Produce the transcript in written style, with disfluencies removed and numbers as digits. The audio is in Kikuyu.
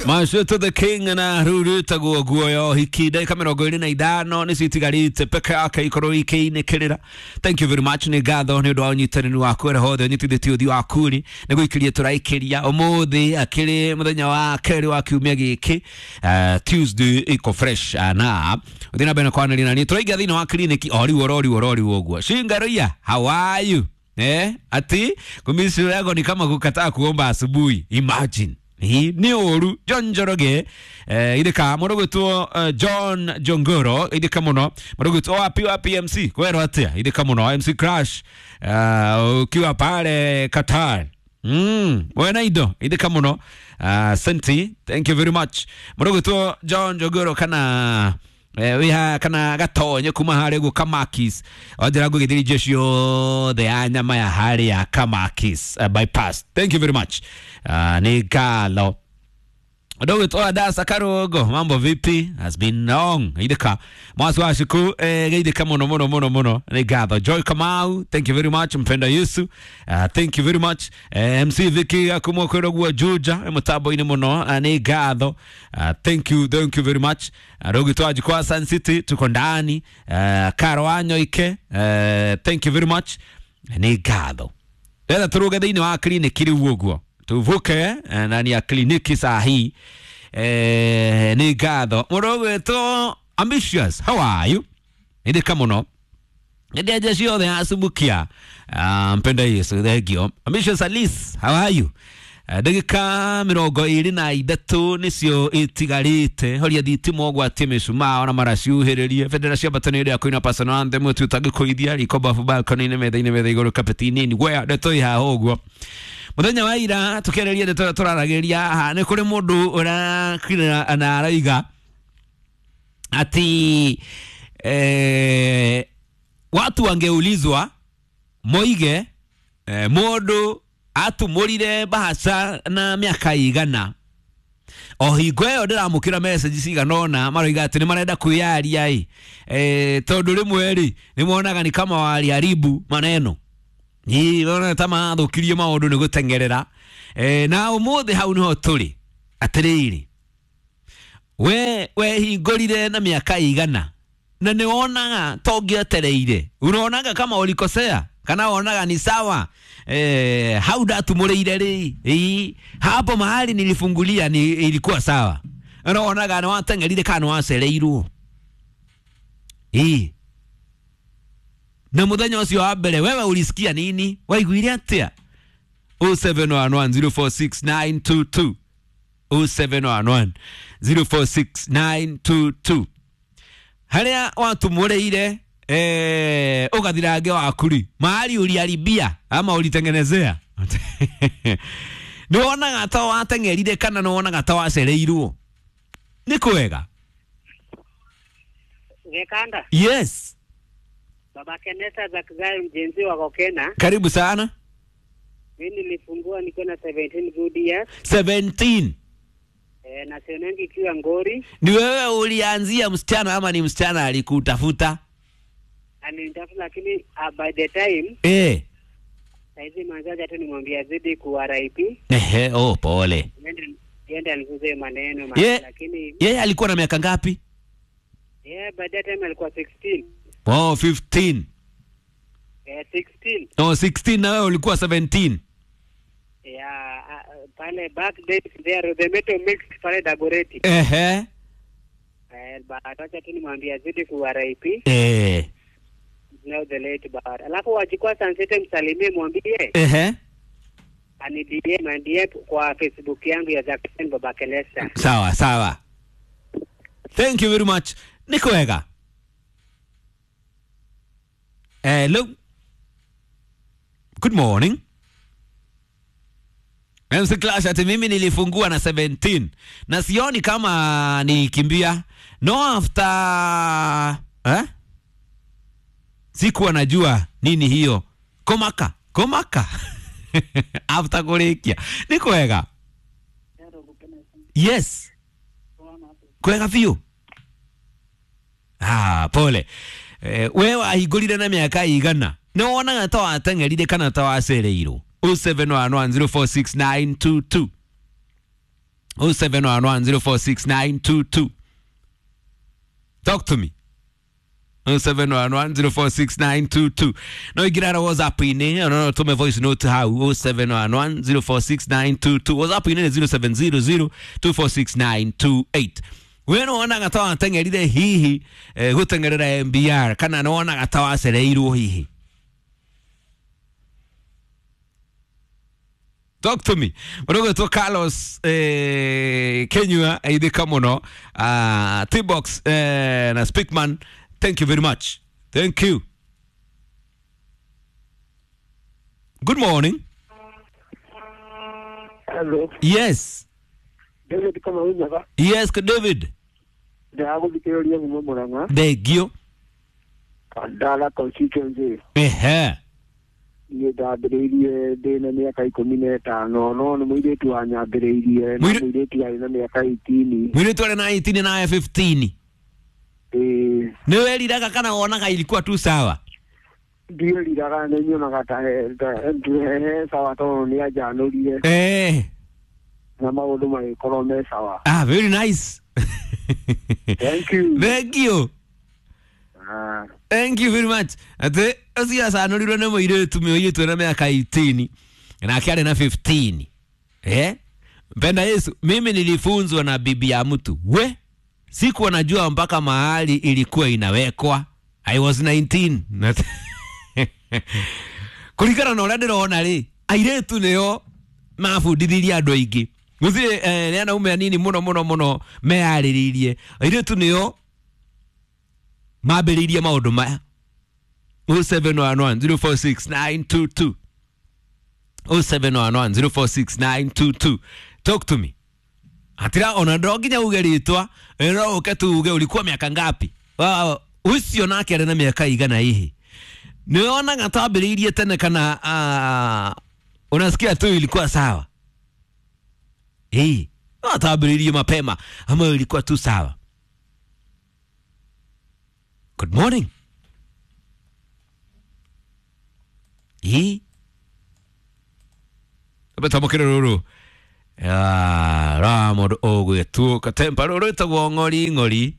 Macio the King na ruru tagwo guoyo hiki ndagika 25 nĩcio itigarĩte peke yake ikorwo ikĩinĩkĩrĩra. Thank you very much, nĩ ngatho nĩ ũndũ wa ũnyitanĩri waku ĩrĩa hothe ũnyitithĩtie ũthiũ waku rĩ nĩ gũikĩria tũraikĩria ũmũthĩ akĩrĩ mũthenya wa kerĩ wa kiumia gĩkĩ, Tuesday iko fresh, na ũthiĩ na mbere na kwaranĩria na niĩ tũraingĩra thĩinĩ wa kliniki o rĩu oro rĩu oro rĩu ũguo. Shingaroia, how are you? Ati kumisi yako ni kama kukataa kuomba asubuhi. Imagine. Hii ni ũru. John Njoroge, ithika mũrũgũtwo, John Jongoro, ithika mũno mũrũgũtwo wapi wapi MC kwero atia, ithika mũno MC Crash, ukiwa pale Qatar. Wena indo ithika mũno, senti, thank you very much mũrũgũtwo John Jongoro kana wiha kana gatonye kuma harĩa ũguo Kamakis onjera ngũgĩthĩria irio ciothe ya nyama ya harĩa Kamakis, bypass. Thank you very much, nĩ ngatho. Ndũgwĩtwo Adasa Karũngo, mambo vipi? Has been long. Ithika mwasi wa ciku, geithika mũno mũno mũno mũno, nĩ ngatho. Joy Kamau, thank you very much. Mpenda Yesu, thank you very much. MC Vicky akumwo kwĩrwo Juja mũtambo-inĩ mũno, nĩ ngatho. Thank you, thank you very much. Ndũgwĩtwo Ajikwa Sun City, tuko ndani. Karo Wanyoike, thank you very much, nĩ ngatho. Ndĩrenda tũrũge thĩinĩ wa kliniki rĩu ũguo tuvuke, ndani ya kliniki saa hii. Nĩ ngatho. Mũndũ ũgwĩtwo Ambitious, how are you? Nĩndĩka mũno nĩndenja ciothe acumukia. Mpenda Yesu, thengio. Ambitious Alice, how are you? Ndagĩka 23 nĩcio itigarĩte. Horia thitima ũgwatie mĩcumaa ona maraciuhĩrĩrie bendera cia mbatano ĩrĩa kwĩna personal anthem tu ũtangĩkũithia riko bafu balcony-inĩ metha-inĩ metha igũrũ kapeti-inĩ ngwea ndeto ĩ haha ũguo. Mũthenya wa ira tũkĩarĩria ndeto ĩrĩa tũraragĩria haha nĩ kũrĩ mũndũ ũrakira na araiga ati watu wangeulizwa moige, mũndũ atumũrire bahaca na mĩaka igana. O hingo ĩyo ndĩramũkĩra message cigana ũna maroiga atĩ nĩ marenda kwĩyaria ĩ, tondũ rĩmwe rĩ nĩ monaga ni kama waliharibu maneno. Ĩ ona ta mathũkirie maũndũ nĩ gũteng'erera. Na ũmũthĩ hau nĩho tũrĩ. Atĩrĩrĩ, we wehingũrire na mĩaka igana na nĩ wonaga ta ũngĩetereire? Unaonaga kama ulikosea kana wonaga ni sawa? Hau ndatumũrĩire rĩ, ĩ hapo mahali nilifungulia ni ilikuwa sawa? Unaonaga nĩ wateng'erire kana nĩ wacereirwo? Ĩ na mũthenya ũcio wa mbere wewe ulisikia nini? Waiguire atĩa? 0711046922, 0711046922, harĩa watumũrĩire, ũgathirange waku rĩ, mahali uliharibia ama ulitengenezea, nĩ wonaga ta wateng'erire kana nĩ wonaga ta wacereirwo? Nĩ kwega. Gekanda. Yes. Baba Kenesa Zakzai mjenzi wa Kokena. Karibu sana. Mimi nilifungua nikiwa na 17 good years. 17. Na sionangi ikiwa ngori. Ni wewe ulianzia msichana ama ni msichana alikutafuta? Alinitafuta, lakini by the time saizi manzaji hata nimwambia zidi ku RIP. Ehe, oh pole. Yende alifunze maneno lakini Yeye alikuwa na miaka ngapi? Yeah, by that time alikuwa 16. Oh, 15. 16. Oh, 16 na wewe ulikuwa 17. Yeah, pale back days there the metal mixed pale Dagoretti. But acha tu nimwambia zidi ku RIP. Now the late bar. Alafu wachukua Sunset msalimie mwambie ani DM and DM kwa Facebook yangu ya Jackson Baba Kelesa. Sawa sawa. Thank you very much. Nĩ kwega. Hello. Good morning. MC Clash ati mimi nilifungua na 17 na sioni kama nilikimbia. No after, eh? Sikuwa najua nini hiyo. Komaka, komaka. After kũrĩkia. Nĩ kwega. Yes. Kwega biũ. Ah, pole. We wahingũrire na mĩaka igana nĩ wonaga ta wateng'erire kana ta wacereirwo? 0711046922. 0711046922. Talk to me. 0711046922. No ingirara WhatsApp-inĩ, no tume voice note hau 0711046922. WhatsApp-inĩ nĩ 0700246928. We nĩ wonaga ta wateng'erire hihi gũteng'erera MBR kana nĩ wonaga ta wacereirwo hihi? Talk to me. Mũrũgwĩtwo Carlos Kenyua aithĩka mũno, T-Box na Speakman, thank you very much. Thank you. Good morning. Hello. Yes. David Kamau Nyaga. Yes, David. Ndĩragũthikĩrĩria kuma Murang'a. Thengio. Kandara constituency. Ehe. Niĩ ndambĩrĩirie ndĩ na mĩaka 15, no nĩ mũirĩtu wanyambĩrĩirie, na mũirĩtu arĩ na mĩaka 18. Mũirĩtu arĩ na 18 na 15. Ĩĩ. Nĩ weriraga kana wonaga ilikuwa tu sawa? Ndieriraga, nĩ nyonaga ta he sawa tondũ nĩ anjanũrire. Na maũndũ magĩkorwo me sawa. Ah, very nice. Thank you. Thank you. Thank you very much. Atĩ ũcio acanũrirwo nĩ mũirĩtu na mĩaka 18 nake arĩ na 15. Mpenda Yesu, mimi nilifunzwa na bibi ya mtu. We, sikuwa najua mpaka mahali ilikuwa inawekwa. I was 19. Kũringana na ũrĩa ndĩrona rĩ, airĩtu nĩo mabundithirie andũ aingĩ. Gũtirĩ nĩ anaume anini mũno mũno mũno meyarĩrĩirie. Airĩtu nĩo mambĩrĩirie maũndũ maya. 0711046922. 0711046922. Talk to me. Atira ona ndo nginya uge rĩtwa, no ũke tu uge ulikuwa miaka ngapi. Ũcio nake arĩ na mĩaka igana hihi. Nĩ wonaga twambĩrĩirie tene kana unasikia tu ilikuwa sawa? No twambĩrĩirie mapema ama ilikuwa tu sawa? Good morning. Betamũkĩre rũrũ. Ra mũndũ ũgwĩtwo katempa rũrũ ĩtagwo ng'ori ng'ori.